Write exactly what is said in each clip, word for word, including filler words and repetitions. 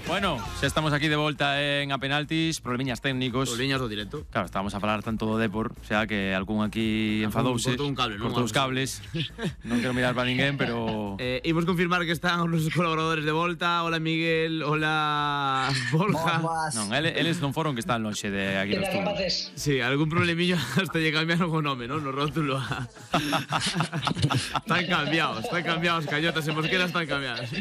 Bueno, xa estamos aquí de volta en A Penaltis, problemiñas técnicos. Problemiñas do directo. Claro, estábamos a falar tanto do Depor, xa que algún aquí enfadouse. Cortou un cable, non? Cortou os cables. Non quero mirar para ninguén, pero... Eh, imos confirmar que están os nosos colaboradores de volta. Hola Miguel, hola Borja. Non, ele, eles non foron que están lonxe de aquí nos estudios. Sí, algún problemillo hasta lle cambiaron o nome, non? No rótulo. Están cambiados, están cambiados, Cañotas e Mosquera están cambiados.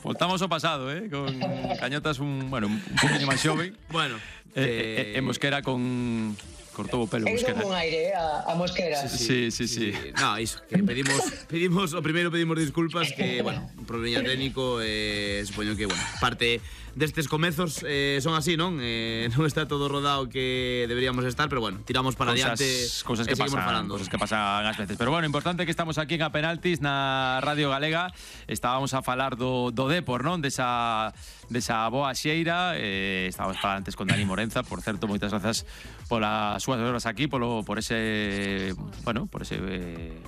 Voltamos ao pasado, eh? Con Cañotas un, bueno, un poquinho máis xove. Bueno, eh, eh, eh, Mosquera con... Cortou o pelo Mosquera. Con aire, eh, a, a Mosquera. Sí, sí, sí. sí. sí. No, iso, que pedimos, pedimos, o primeiro pedimos disculpas, que, bueno, un problema técnico, eh, supoño que, bueno, parte destes comezos eh, son así, non? Eh, non está todo rodado que deberíamos estar, pero bueno, tiramos para cosas, adiante cosas que pasan, falando. Cosas que pasan ás veces. Pero bueno, importante que estamos aquí en A Penaltis na Radio Galega. Estábamos a falar do, do Depor, non? Desa, desa boa xeira. Eh, estábamos a falar antes con Dani Morenza. Por certo, moitas grazas polas súas horas aquí, polo, por ese, bueno, por ese... Eh,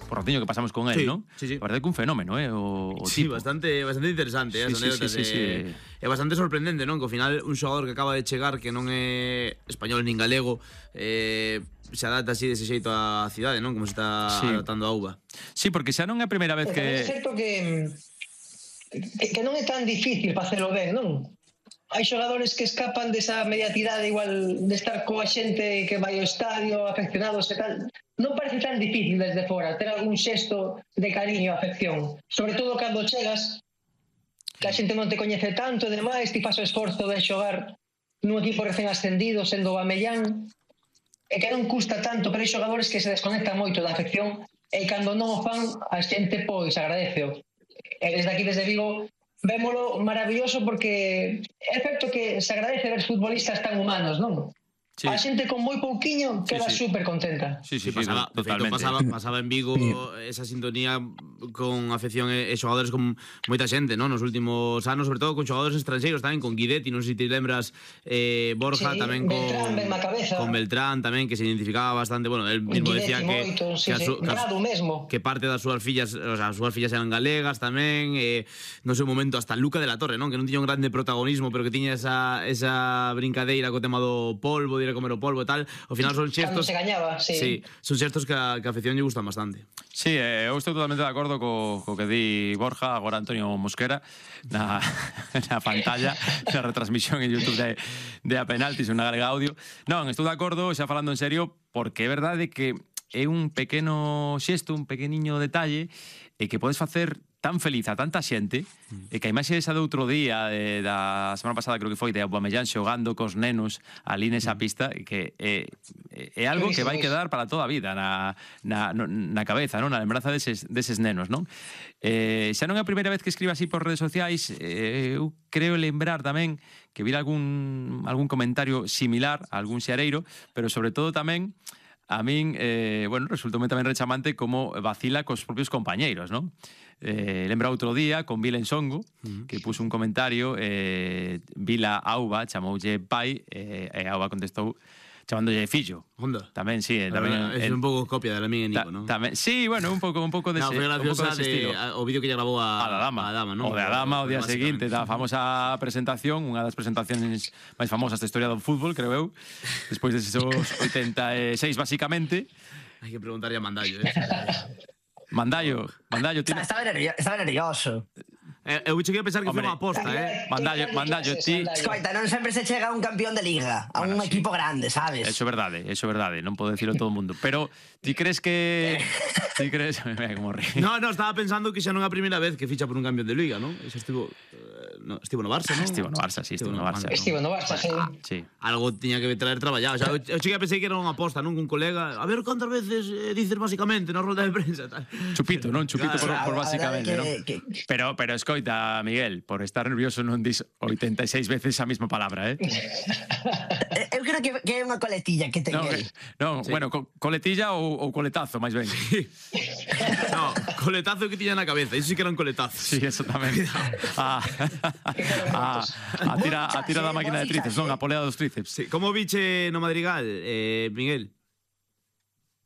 por ratiño que pasamos con él, sí, ¿no? Sí, sí. La verdade que un fenómeno, eh, o, o sí, tipo. bastante, bastante interesante, eh, sí, as sí, anécdotas. sí, sí, eh, sí. É bastante sorprendente, non? Que ao final un xogador que acaba de chegar, que non é español nin galego, eh, se adapta así dese xeito á cidade, non? Como se está sí. adaptando a uva. Sí, porque xa non é a primeira vez que... É certo que, que, que non é tan difícil facelo ben, non? Hai xogadores que escapan desa mediatidade igual de estar coa xente que vai ao estadio, afeccionados e tal. Non parece tan difícil desde fora ter algún xesto de cariño a afección. Sobre todo cando chegas, que a xente non te coñece tanto e demais, ti faz o esforzo de xogar nun equipo recén ascendido, sendo o Amellán, e que non custa tanto, pero hai xogadores que se desconectan moito da afección e cando non o fan, a xente pois agradeceo. E desde aquí, desde Vigo, vémolo maravilloso porque é certo que se agradece ver futbolistas tan humanos, non? Sí. A xente con moi pouquiño queda sí, sí. super contenta. Sí, sí, sí, pasaba, sí, totalmente. Pasaba, pasaba en Vigo esa sintonía con afección e, e xogadores con moita xente, non? Nos últimos anos, sobre todo con xogadores estranxeiros tamén, con Guidetti, non sei se te lembras, eh, Borja, sí, tamén con Beltrán, con Beltrán tamén, que se identificaba bastante, bueno, él mismo Guidetti decía que moito, sí, que, a su, sí. Grado mesmo. que parte das súas fillas, o sea, as súas fillas eran galegas tamén, eh, no seu momento hasta Luca de la Torre, non? Que non tiña un grande protagonismo, pero que tiña esa, esa brincadeira co tema do polvo, de ir a comer o polvo e tal. Ao final son xestos... Cando se gañaba, sí. Sí, son xestos que a, que a afección lle gustan bastante. Sí, eh, eu estou totalmente de acordo co, co que di Borja, agora Antonio Mosquera, na, na pantalla, na retransmisión en YouTube de, de A Penaltis, unha galega audio. Non, estou de acordo, xa falando en serio, porque é verdade que é un pequeno xesto, un pequeniño detalle, e que podes facer tan feliz a tanta xente, e que a imaxe esa de outro día, de, da semana pasada creo que foi, de Aubameyang xogando cos nenos ali nesa pista, que é, é algo que vai quedar para toda a vida na, na, na cabeza, non? Na lembranza deses, deses nenos, non? Eh, xa non é a primeira vez que escribe así por redes sociais, eh, eu creo lembrar tamén que vir algún, algún comentario similar a algún xareiro, pero sobre todo tamén a min, eh, bueno, resultou tamén rechamante como vacila cos propios compañeiros, non? Eh, lembra outro día con Vila Ensongo, uh-huh. que puso un comentario, eh, Vila Auba chamoulle pai, eh, e Auba contestou chamándolle fillo. Onda. Tamén, sí. Tamén, é un pouco copia de la miña Nico, non? Tamén, sí, bueno, un pouco un pouco dese, no, foi graciosa de, de, o vídeo que lle grabou a, a la dama, a dama, non? O de a dama o día seguinte, da famosa presentación, unha das presentacións máis famosas da historia do fútbol, creo eu, despois deses oitenta e seis, basicamente. Hai que preguntarlle a Mandallo, eh? Mandallo, Mandallo... Tiene... Estaba, nervioso, estaba nervioso. Eh, eu cheguei a pensar que foi unha aposta, eh? Mandallo, Mandallo, ti... Escoita, non sempre se chega a un campeón de liga, a bueno, un sí. equipo grande, sabes? Eso é verdade, eso é verdade, non podo dicirlo todo o mundo. Pero, ti crees que... ti crees... Mira como ríe. No, no, estaba pensando que xa non é a primeira vez que ficha por un campeón de liga, non? Xa estivo... No, estivo no Barça, non? Estivo no Barça, sí, estivo no Barça. Estivo no Barça, sí. Ah, sí. Algo tiña que traer traballado. O sea, eu cheguei a pensar que era unha aposta, non? Cun colega, a ver cantas veces eh, dices basicamente na rolda de prensa, tal. Chupito, non? Chupito claro, por, por básicamente, que, non? Que... Pero, pero escoita, Miguel, por estar nervioso non dis oitenta e seis veces a mesma palabra, eh? Eu creo que, que é unha coletilla que ten no, el. No, sí. Bueno, co coletilla ou, ou coletazo, máis ben. Sí. No, coletazo que tiña na cabeza, iso sí que era un coletazo. Sí, eso tamén. a, a, a, tira, a tira da máquina de tríceps, non? A polea dos tríceps. Sí. Como viche no Madrigal, eh, Miguel?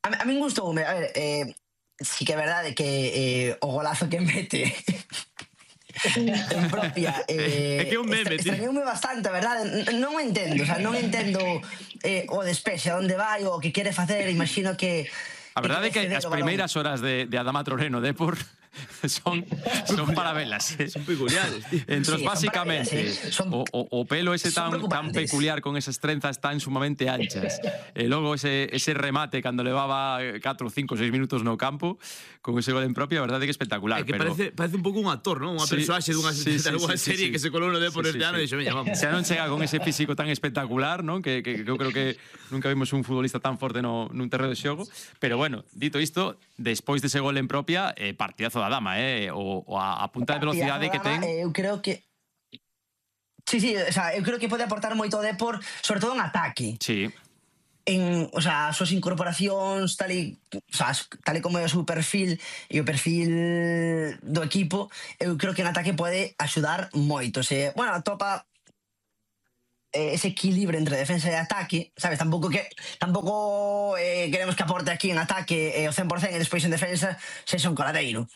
A, a min gustoume, a ver, eh, sí que é verdade que eh, o golazo que mete en propia. É que é un meme, tío. Extrañoume bastante, a verdade. Non o entendo, o sea, non entendo eh, o despexe, onde vai, o que quere facer, imagino que... A verdade é que as primeiras horas de, de Adama Traoré no Depor son, son para velas. Son peculiares, tío. Entros, Sí, son básicamente, para velas, eh. Son- o, o, o pelo ese son tan, tan preocupantes. peculiar con esas trenzas tan sumamente anchas. E logo ese, ese remate cando levaba catro, cinco, seis minutos no campo con ese gol en propia, a verdade é que espectacular. É que pero... parece, parece un pouco un actor, non? Unha Sí, persoaxe dunha sí, sí, dunha sí, sí, serie sí. que se colou no Depor Sí, este sí, ano sí. e dixo, veña, vamos. Se non chega con ese físico tan espectacular, non? Que, que, que eu creo que nunca vimos un futbolista tan forte no, nun terreno de xogo. Pero bueno, dito isto, despois dese gol en propia, eh, partidazo da Dama, eh? O, o a, a punta de velocidade que ten... Eu creo que... Sí, sí, o sea, eu creo que pode aportar moito o Depor, sobre todo en ataque. Sí, En, o sea, as súas incorporacións, tal e, o sea, tal e como é o seu perfil e o perfil do equipo, eu creo que en ataque pode axudar moito. Se, bueno, atopa eh, ese equilibrio entre defensa e ataque, sabes, tampouco que tampouco eh, queremos que aporte aquí en ataque eh, o cen por cen e despois en defensa sexa un coladeiro,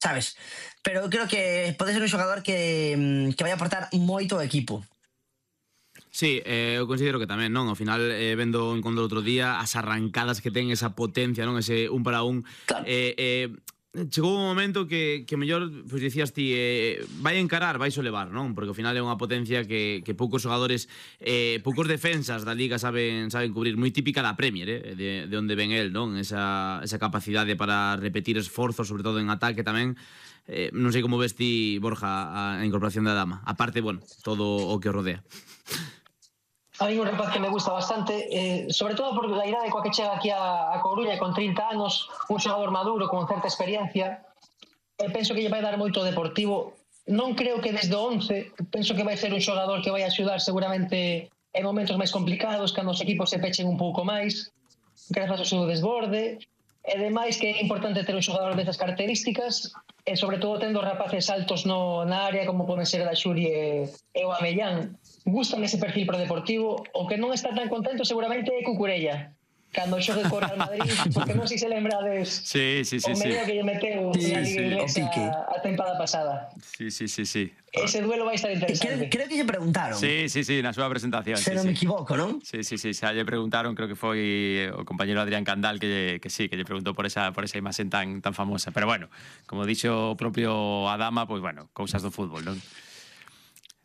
sabes? Pero eu creo que pode ser un xogador que, que vai aportar moito ao equipo. Sí, eh, eu considero que tamén, non? Ao final, eh, vendo o encontro outro día, as arrancadas que ten, esa potencia, non? Ese un para un. Claro. Eh, eh, chegou un momento que, que mellor, pois dicías ti, eh, vai encarar, vai levar, non? Porque ao final é unha potencia que, que poucos xogadores, eh, poucos defensas da Liga saben saben cubrir, moi típica da Premier, eh? de, de onde ven el, non? Esa, esa capacidade para repetir esforzos, sobre todo en ataque tamén. Eh, non sei como ves ti, Borja, a incorporación da Dama. Aparte, bueno, todo o que o rodea. A mí un rapaz que me gusta bastante, eh, sobre todo por la idade coa que chega aquí a, a Coruña con trinta anos, un xogador maduro con certa experiencia. Eh, penso que lle vai dar moito Deportivo. Non creo que desde o once, penso que vai ser un xogador que vai axudar seguramente en momentos máis complicados, cando os equipos se pechen un pouco máis, grazas ao seu desborde. E demais que é importante ter un xogador desas características, e sobre todo tendo rapaces altos no, na área como poden ser a Xuri e, e o Amellán. Gustan ese perfil pro Deportivo. O que non está tan contento seguramente é Cucurella, cando xogue co Real Madrid, porque non sei se lembrades sí, sí, sí, o sí. medio que lle meteu Sí, na Liga sí, Inglesa o Pique. a tempada pasada. Sí, sí, sí, sí. Ese duelo vai estar Creo, interesante. creo que lle preguntaron, Sí, sí, sí, na súa presentación. se sí, non sí. me equivoco, non? Sí, sí, sí, xa lle preguntaron, creo que foi o compañero Adrián Candal que, lle, que sí, que lle preguntou por esa por esa imaxen tan tan famosa. Pero bueno, como dixo o propio Adama, pois pues bueno, cousas do fútbol, non?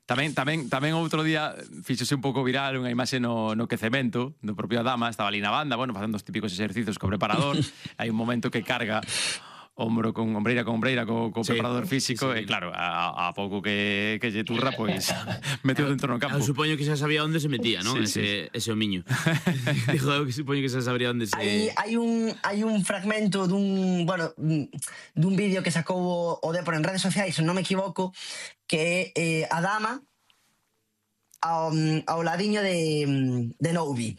Tamén, tamén, tamén outro día fíxose un pouco viral unha imaxe no, no quecemento do propio Adama, estaba ali na banda, bueno, facendo os típicos exercicios co preparador, hai un momento que carga ombro con ombreira con ombreira co, co Sí, preparador físico sí, sí. e claro, a, a pouco que, que lle turra, pois meteu dentro no campo. Eu supoño que xa sabía onde se metía, non? Sí, ese, ese homiño. Dijo eu que supoño que xa sabría onde se... Hai, hai, un, hai un fragmento dun, bueno, dun vídeo que sacou o, o Depor en redes sociais, se non me equivoco, que é eh, a Dama ao, ao ladiño de, de Noubi.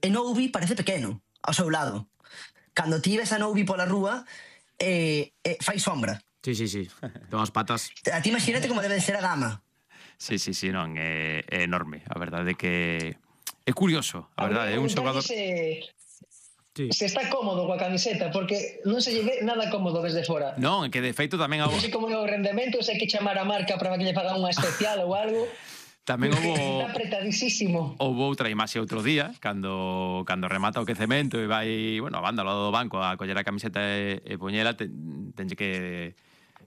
E Noubi parece pequeno ao seu lado. Cando ti ves a Noubi pola rúa, eh, eh, fai sombra. Sí, sí, sí. Ten as patas. A ti imagínate como debe de ser a Dama. Sí, sí, sí, non, é, é enorme. A verdade é que é curioso, a verdade, é un xogador... Se, Sí. se está cómodo coa camiseta, porque non se lle ve nada cómodo desde fora. Non, é que de feito tamén Non houve sei como é o rendemento, se hai que chamar a marca para que lle fagan unha especial ou algo. tamén Está houve apretadísimo. houve outra imaxe outro día cando cando remata o quecemento e vai, bueno, a banda ao lado do banco a coller a camiseta e, e poñela, ten, tenlle que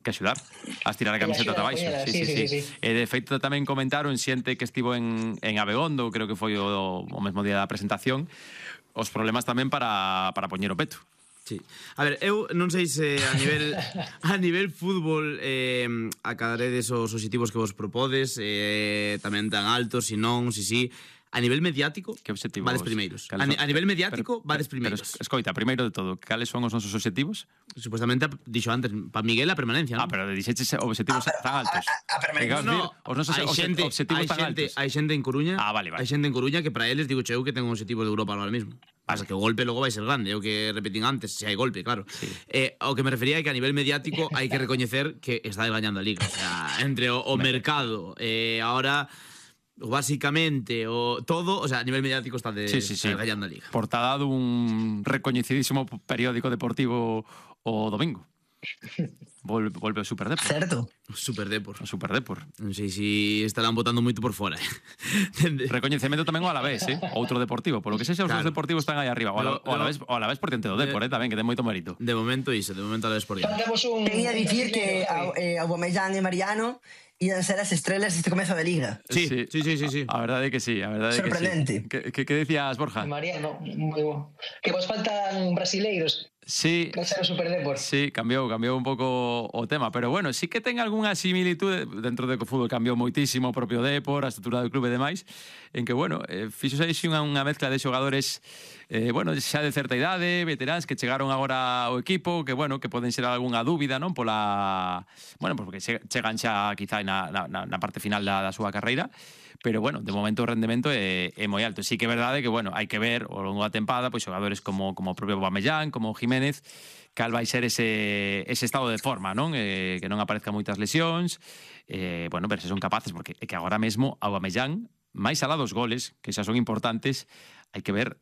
que axudar a estirar a Que camiseta axuda ata a baixo. poñela, Sí, sí, sí, sí, sí, sí, sí. E de feito tamén comentaron xente que estivo en, en Abegondo, creo que foi o, o mesmo día da presentación, os problemas tamén para, para poñer o peto. Sí. A ver, eu non sei se a nivel a nivel fútbol eh, acadaredes os obxectivos que vos propodes, eh, tamén tan altos, si non, si si. A nivel mediático, Que obxectivos? vades primeiros. A, Cales ni- son? a nivel mediático, Pero- vades pero- primeiros. Pero, escoita, primeiro de todo, cales son os nosos obxectivos? Supuestamente, dixo antes, para Miguel a permanencia, Ah, non? pero dixeches obxectivos Ah, pero tan altos. a- a- a permanencia. Que acabas de No, dir, os nosos hai obxe- xente, obxectivos hai tan xente, altos. hai xente en Coruña, Ah, vale, vale. hai xente en Coruña que para eles digo eu que ten un objetivo de Europa ahora mesmo. Pasa que o golpe logo vai ser grande, é o que repetín antes, se hai golpe, claro. Sí. Eh, ao que me refería é que a nivel mediático hai que recoñecer que está gañando a Liga, o sea, entre o, o mercado e eh, ahora básicamente o todo, o sea, a nivel mediático está de Sí, sí, sí. está gañando a Liga. Portada dun recoñecidísimo periódico deportivo o domingo. Volve, volve o Super Depor. Certo. Super Depor. O Super Depor. Non sei se estarán botando moito por fora. Recoñecemento tamén o Alavés, eh? Outro deportivo. Por lo que sexa, os Claro. dos deportivos están aí arriba. O, Ala, o, Alavés, o Alavés por diante do Depor, eh? Tamén, que ten moito mérito. De momento iso, de momento a la por diante. Faltamos un... Quería un dicir que brasileño, eh, Aubameyang e Mariano iban ser as estrelas deste comezo de liga. Sí, sí, sí, sí, sí. A verdade é que sí, a verdade é que sí. Sorprendente. Que, que, que decías, Borja? Mariano, moi bo. Que vos faltan brasileiros Sí, para ser o Super Depor. sí, cambiou, cambiou un pouco o tema, pero bueno, sí que ten algunha similitude dentro de que o fútbol cambiou moitísimo, o propio Depor, a estrutura do clube e demais, en que, bueno, eh, fixose aí unha, unha mezcla de xogadores eh, bueno, xa de certa idade, veteráns que chegaron agora ao equipo, que, bueno, que poden ser algunha dúbida, non? Pola... Bueno, porque chegan xa quizá na, na, na parte final da, da súa carreira, pero, bueno, de momento o rendemento é, é moi alto. Sí que é verdade que, bueno, hai que ver ao longo da tempada, pois xogadores como, como o propio Aubameyang, como Jiménez, cal vai ser ese, ese estado de forma, non? Eh, que non aparezcan moitas lesións, eh, bueno, ver se son capaces, porque é que agora mesmo Aubameyang, máis alá dos goles, que xa son importantes, hai que ver